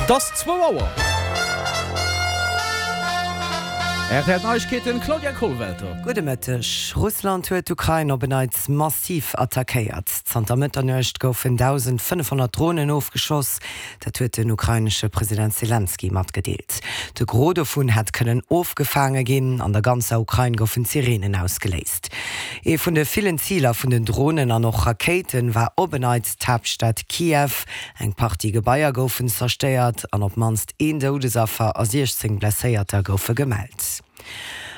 Et ass zwou Auer. Rtl Neiegkeeten, Claudia Kollwelter. Gudde Mëtteg. Russland huet d'Ukrain op en Neits massiv attackéiert. Zanter Mëtternuecht goufen 1.500 Dronen ofgeschoss. Dat huet den ukrainesche President Selenskyj matgedeelt. De Gros dovun hätt kënnen ofgefaange ginn. An der ganzer Ukrain goufen d'Sireenen ausgeléist. Ee vun de villen Ziler vun den Dronen an och Rakéiten war op en Neits d'Haaptstad Kiew. Eng Partie Gebaier goufen zerstéiert an op d'mannst een Doudesaffer a 16 Blesséierter goufe gemellt.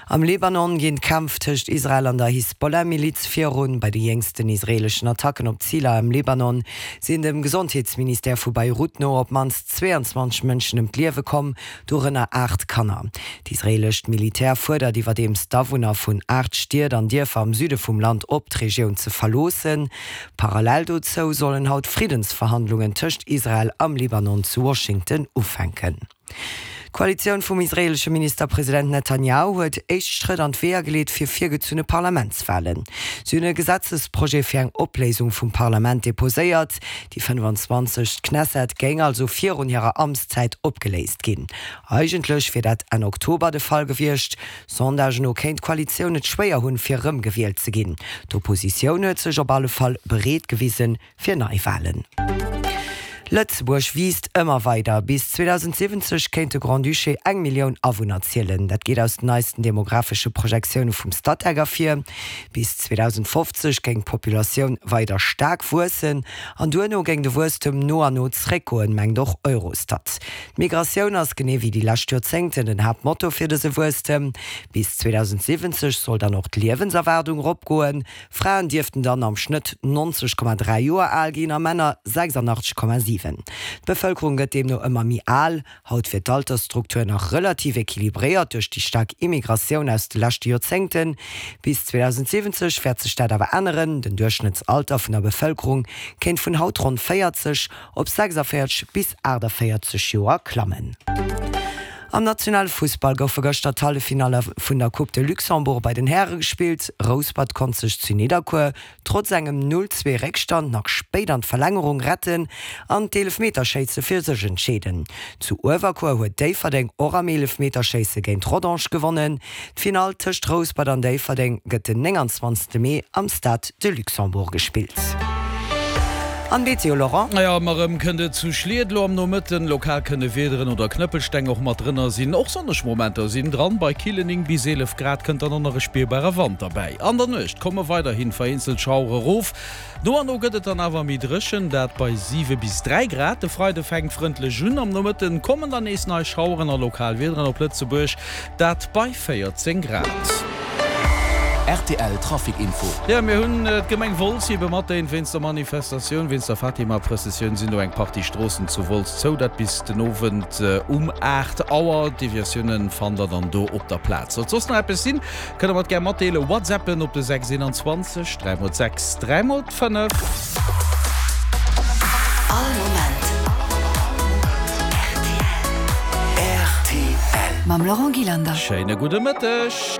Am Libanon ginn d'Kämpf tëscht Israel an der Hisbollah-Miliz virun. Bei de jéngsten israeeleschen Attacken op Ziler am Libanon sinn dem Gesondheetsministère vu Beirut no op d'mannst 22 Mënschen ëm d'Liewe komm, dorënner 8 Kanner. D'israeelescht Militär fuerdert iwwerdeems d'Awunner vun 8 Stied an Dierfer am Süde vum Land op, d'Regioun ze verloossen. Parallel dozou sollen haut Friddensverhandlungen tëscht Israel am Libanon zu Washington ufänken. D'Koalitioun vum israeelesche Ministerpresident Netanjahu huet éischt Schrëtt an d'Weeër geleet fir virgezunne Parlamentswalen. Si hunn e Gesetzesprojet fir eng Opléisung vum Parlament deposéiert. Déi 25. Knesset géing also virun hirer Amtszäit opgeléist ginn. Eigentlech wier dat Enn Oktober de Fall gewiescht. Sondagen no kéint d'Koalitioun et schwéier hunn, fir erëmgewielt ze ginn. D'Oppositioun huet sech op alle Fall bereet gewisen, fir Neiwalen. Lëtzebuerg wiisst ëmmer weider. Bis 2070 kéint de Grand-Duché eng Millioun Awunner zielen. Dat geet aus den neisten demographesche Projektioune vum Statec ervir. Bis 2050 géing d'Populatioun weider staark wuessen an duerno géing de Wuesstem no an no zeréckgoen, mengt och Eurostat. D'Migratioun ass, genee wéi déi lescht Joerzéngten, den Haaptmotor fir dëse Wuesstem. Bis 2070 soll dann och d'Liewenserwaardung eropgoen. Fraen dierften dann am Schnëtt 90,3 Joer al ginn a Männer 86,7. D'Bevëlkerung gëtt deemno ëmmer méi al. Haut wier d'Altersstruktur nach relativ equilibréiert duerch déi staark Immigratioun aus de leschte Joerzéngten. Bis 2070 wäert sech dat awer änneren. Den Duerchschnëttsalter vun der Bevëlkerung kéint vun haut ronn 40 op 46 bis 48 Joer klammen. Am nationale Fussball goufe gëschter d'Halleffinalle vun der Coupe de Luxembourg bei den Häre gespillt. Rouspert konnt sech zu Nidderkuer trotz engem 0, 2 Réckstand nach spéit an d'Verlängerung retten an d'Eelefmeterschéisse fir sech entscheeden. Zu Uewerkuer huet Déifferdeng och am Eelefmeterschéisse géint Rodange gewonnen. D'Finall tëscht Rouspert an Déifferdeng gëtt den 29 Mee am Stade de Luxembourg gespillt. An Meteo, Laurent? Jo, ëmmer erëm kënnt et zu Schliet elo am Nomëtten. Lokal kënne Wiederen oder Knëppelsteng och mat drënner sinn. Och sonneg Momenter sinn dran. Bei killen 9 bis 11 Grad kënnt dann och nach e spierbare Wand derbäi. An der Nuecht komme weiderhi vereenzelt Schauere erof. No an no gëtt et dann awer méi dréchen, dat bei 7 bis 3 Grad. De Freide fänkt frëndlech un, am Nomëtten kommen dann nees nei Schaueren a lokal Wiederen op Lëtzebuerg, dat bei 14 Grad. Rtl Trafic Info. Jo, mir hunn d'Gemeng Wolz ebe matdéint. Wéinst der Manifestatioun, wéinst der Fatima-Prëssessioun sinn do eng Partie Stroossen zu Wolz zou, dat bis den Owend um 8 Auer. Deviatiounen fannt der dann do op der Plaz. Sollt soss nach eppes sinn, Kënnt der mer et gär matdeelen, WhatsAppen op de 6 21 3 mol 6 3 mol 5. All Moment rtl. Mam Laurent Gillander. Schéine gudde Mëtteg.